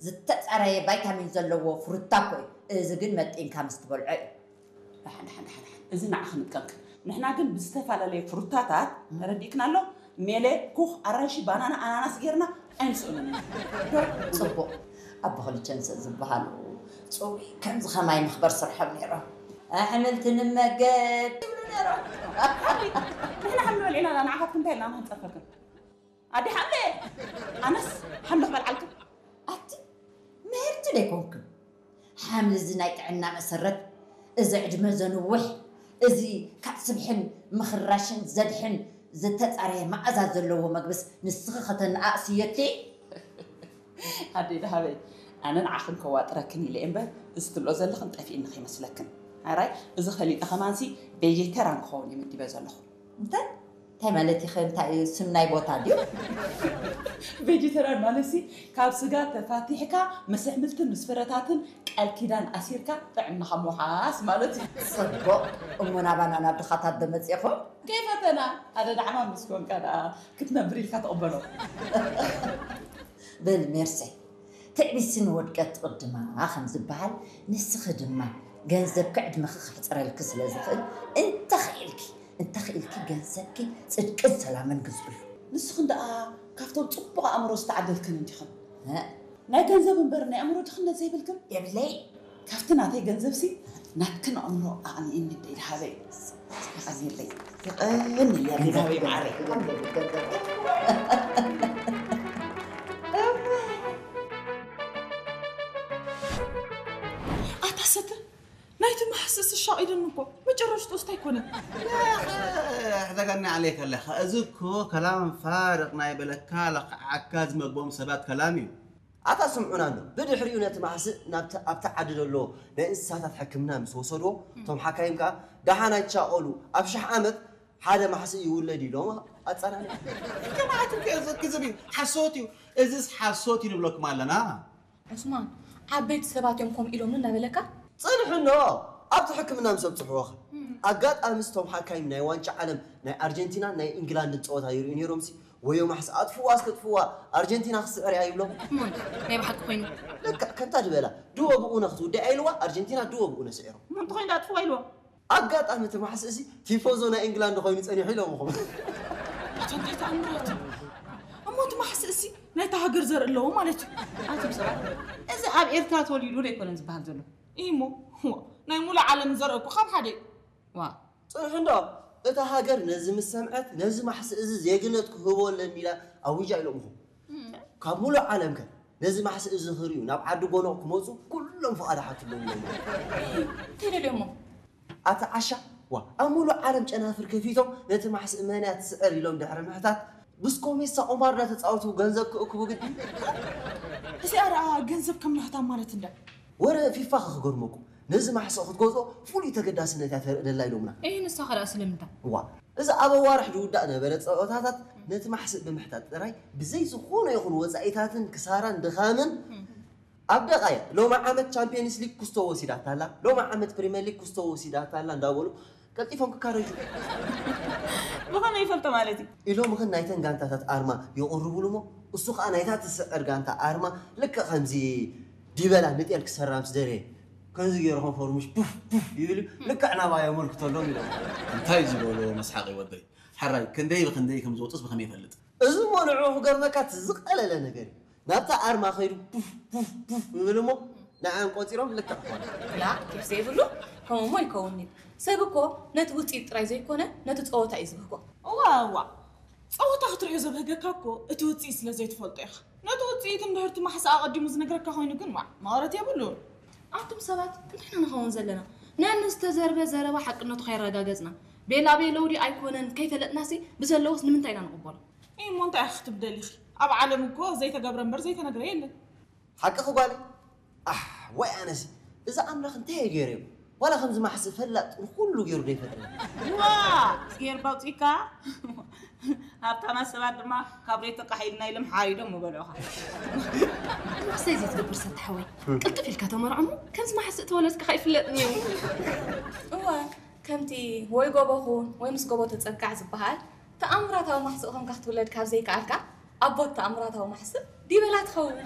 ዝተጻረየ ቫይታሚን ዘለዎ ፍሩታ እኮ እዩ። እዚ ግን መጢንካ ምስ ትበልዖ እዩ። ደሓን፣ ደሓን፣ ደሓን፣ ደሓን። እዚ ንዓኺ ንጥቀምክን። ንሕና ግን ብዝተፈላለየ ፍሩታታት፣ ተረዲእክና ኣሎ? ሜለ፣ ኩኽ፣ ኣራንሺ፣ ባናና፣ ኣናናስ ጌርና ኣይንስእኖም ኢና። ጽቡቕ። ኣቦ ክልቸንሰ ዝበሃሉ ጽሩይ ከምዚ ኸማይ መኽበር ስርሖም ነይሮም። ኣሕምልቲ ንመገብ ይብሉ ነይሮም። ንሕና ሓምሊ በሊዕና ንዓኻትኩም እንታይ ኢልና ንኽንጸርፈክን? ኣደ ሓምለ! ኣነስ ሓምሊ ክበልዓልክን። ኣቲ ምህርቲ ዶ ኣይኮንክን? ሓምሊ እዚ ናይ ጥዕና መሰረት፣ እዚ ዕድመ ዘንውሕ፣ እዚ ካብ ስብሕን ምኽራሽን ዘድሕን ዝተጻረየ መኣዛ ዘለዎ መግብስ ንስኺ ከተነኣእስዮ እትይ? ኣደይ ደሃበይ፣ ኣነ ንዓኽን ከዋጥረክን ኢለ እየ እምበር፣ እዚ ትብሎ ዘለኽን ጠፊእኒ ከይመስለክን። ኣራይ፣ እዚ ፈሊጠ ከማንሲ ቬጀተራን ክኸውን እየ መዲበ ዘለኹ። እንታይ? እንታይ ማለት ኢኸ? እንታይ እዩ? ስም ናይ ቦታ ድዩ? ቬጀተራን ማለትሲ፣ ካብ ስጋ ተፋቲሕካ፣ ምስ ኣሕምልትን ምስ ፍረታትን ቃል ኪዳን ኣሲርካ ጥዕናኻ ምውሓስ ማለት እዩ። ጽቡቕ። እሞ ናባና ናብ ድኻታት ዶ መጺእኹም? ከይፈተና፣ ኣደ ዳዕማ ምስ ኮንካ ደኣ ክትነብር ኢልካ ትቕበሎ። በል ሜርሰይ፣ ትዕቢትሲ ንውድቀት ትቕድማ ከም ዝበሃል፣ ንስኺ ድማ ገንዘብኪ ዕድመኺ ከሕጽረልኪ ስለ ዝኽእል፣ እንተኽኢልኪ፣ እንተኽኢልኪ ገንዘብኪ ጽድቅን ሰላምን ግዝኡሉ። ንስኽን ደኣ ካብቶም ጽቡቕ ኣእምሮ ዝተዓደልክን እንዲኽን። እ? ናይ ገንዘብ እምበር ናይ ኣእምሮ ድኽነት ዘይብልክን? የብለይ። ካብቲ ናተይ ገንዘብሲ ናትክን ኣእምሮ ኣቕንየኒ ደይ ደሃበይ። የቐንየለይ። የቐንየለይ ደሃበይ መዓረይ። ኣታ ሰተ፣ ናይቲ ማሕስስ ሻቒሉኒ እኮ። መጨረሽትኡስ እንታይ ኮነ? يا أخي، احذقني عليك اللخ። እዚ እኮ ከላም ፋርቕ ናይ በለካ ለኽዓካ ዝመግቦም ሰባት ከላም እዩ። ኣታ ስምዑና እንዶ፣ ብድሕሪኡ ነቲ ማሕስእ ናብቲ ኣብቲ ዓዲ ዘሎ ናይ እንስሳታት ሕክምና ምስ ወሰድዎ፣ እቶም ሓካይም ከኣ ደሓን ኣይትሻቐሉ፣ ኣብ ሽሕ ዓመት ሓደ ማሕስእ ይውለድ ኢሎም ኣጸናንዮም። ከማዓት እንከ እዚ ክዝብ እዩ፣ ሓሶት እዩ። እዚስ ሓሶት እዩ ንብለኩም ኣለና። ዑስማን፣ ዓበይቲ ሰባት እዮም ከምኡ ኢሎምኒ እናበለካ? ጽንሕኖ፣ ኣብቲ ሕክምና ምስ ኣብጽሕዎኸ? ኣጋጣሚ ስቶም ሓካይም ናይ ዋንጫ ዓለም ናይ ኣርጀንቲናን ናይ ኢንግላንድን ጸወታ ይርእዩ ነይሮምሲ፣ ወዮ ማሕስ ኣጥፍዋ እስከጥፍዋ፣ ኣርጀንቲና ክስዕር እያ ይብሎም። እሞ እንታይ? ናይ ብሓቂ ኮይኑ? ልክዕ ከምታ ዝበላ፣ ድወ ብኡነ ክትውድእ እያ ኢልዋ፣ ኣርጀንቲና ድወ ብኡነ ስዒሮም። እሞ እንተኾይኑ ደኣ ኣጥፍዋ ኢልዋ? ኣጋጣሚ እቲ ማሕስ እዚ ቲፎዞ ናይ ኢንግላንድ ኮይኑ ጸኒሑ ኢሎም እኹም። ኣታ እንታይ ተኣምራት እዩ? እሞ እቲ ማሕስ እዚ ናይታ ሃገር ዘርኢ ኣለዎ ማለት እዩ። ኣቱም ሰባት፣ እዚ ኣብ ኤርትራ ተወሊዱ ዶ ኣይኮነን ዝበሃል ዘሎ? እሞ፣ እሞ፣ ናይ ሙሉእ ዓለም ዘርኢ እኮ ካብ ሓደ እዩ። ዋ። ጽንሑ እንዶ፣ እታ ሃገር ነዚ ምስ ሰምዐት፣ ነዚ ማሕስ እዚ ዜግነት ክህቦ ኣለኒ ኢላ ኣዊጃ ኢሎም እኹም። ካብ ሙሉእ ዓለም ከ ነዚ ማሕስ እዚ ክርእዩ ናብ ዓዲ ጎኖቕ ክመጹ ኩሎም ፍቓድ ሓትሎም ኢሎም። እንታይ ደልዮሞ? ኣቲ ዓሻ፣ ዋ፣ ኣብ ሙሉእ ዓለም ጨናፍር ከፊቶም ነቲ ማሕስ መን እያ ትስዕር ኢሎም ድሕሪ ምሕታት፣ ብስኮሜሳ ቁማር እናተጻወቱ ገንዘብ ክእክቡ ግዲ። እዚኣ ደኣ ገንዘብ ከም ምሕታም ማለት እንዳ። ወረ ፊፋ ከ ክገርመኩም፣ ነዚ ማሕስ ክትገዝኦ ፍሉይ ተገዳስነት እያ ተርኢ ደላ ኢሎምና። እይ፣ ንሳ ከ ደኣ ስለምንታይ? ዋ፣ እዚ ኣብ ኣዋርሕ ዝውዳእ ነበረ ጸወታታት ነቲ ማሕስእ ብምሕታት ጥራይ ብዘይ ዝኾነ ይኹን ወጻኢታትን ክሳራን ድኻምን ኣብ ደቓይቕ ሎሚ ዓመት ቻምፒየንስ ሊግ ኩስቶ ወሲዳታ ኣላ፣ ሎሚ ዓመት ፕሪምየር ሊግ ኩስቶ ወሲዳታ ኣላ እንዳበሉ ቀልጢፎም ክካረጁ። ብኸመይ ይፈልጦ ማለት እዩ? ኢሎም ኽን ናይተን ጋንታታት ኣርማ የቕርቡሉ እሞ እሱ ኸኣ ናይታ ትስዕር ጋንታ ኣርማ ልክዕ ከምዚ ዲበላ ንጤል ክሰራ ምስ ደለየ ከምዚ ገይሩ ኸም ፎርሙሽ ቡፍ ቡፍ ይብል እዩ። ልክዕ ናባይ የመልክተሎም ኢሎም። እንታይ ዝበሎ መስሓቂ ወደይ። ሕራይ ክንደይ ብክንደይ ከም ዝወጡስ ብኸመይ ይፈልጥ? እዚ እሞ ንዕኡ ክገርመካ እቲ ዝቐለለ ነገር እዩ። ናብታ ኣርማ ኸይዱ ቡፍ ቡፍ ቡፍ ይብል እሞ ንዓም ቆጺሮም ልክዕ ኾነ። ላ ኬፍ ዘይብሉ ከምኡ እሞ ይከውን እዩ። ሰብ እኮ ነቲ ውጽኢት ጥራይ ዘይኮነ ነቲ ጸወታ እዩ ዝብህጎ። እዋ እዋ፣ ጸወታ ክትርእዮ ዘብህገካ እኮ እቲ ውጽኢት ስለ ዘይትፈልጦ ኢኻ። ነቲ ውጽኢት እንድሕር እቲ ማሕሳ ኣቐዲሙ ዝነግረካ ኮይኑ ግን ዋዕ መቐረት የብሉን። ኣቱም ሰባት እንታይ ኢና ንኸውን ዘለና? ነን ዝተዘርበ ዘረባ ሓቅነቱ ከየረጋገጽና ቤላ ቤለው ድዩ ኣይኮነን ከይፈለጥናሲ ብዘለዎስ ንምንታይ ኢና ንቕበሎ? እሞ እንታይ ኢኺ ክትብሊ ደሊኺ? ኣብ ዓለም እኮ ዘይተገብረ እምበር ዘይተነግረ የለን። ሓቅኺ ጓለይ። ኣሕ፣ ዋይ ኣነሲ፣ እዚ ኣምላኽ እንታይ እዩ ገይሩ? ዋላ ከምዚ ማሕስእ ፈላጥ ንኹሉ ገይሩ ዶ ይፈጥረና? ዋ! ጌር ባውፂካ ሃብታማት ሰባት ድማ ካብ ሬት ተቃሒልና ኢሎም ሓሪዶም ምበልዑኻ። ማሕሰይ ዘይትገብር ሰተሓወይ፣ ቅልጥፍ ኢልካ ተመርዖ እሞ ከምዚ ማሕስእ ተወለድካ ከይፍለጥኒ እዩ። እዋ፣ ከምቲ ወይ ጎቦ ኹን ወይ ምስ ጎቦ ተጸጋዕ ዝበሃል፣ ተኣምራታዊ ማሕስእ ኾንካ ክትውለድ ካብ ዘይከኣልካ፣ ኣቦት ተኣምራታዊ ማሕስእ ዲበላ ትኸውን።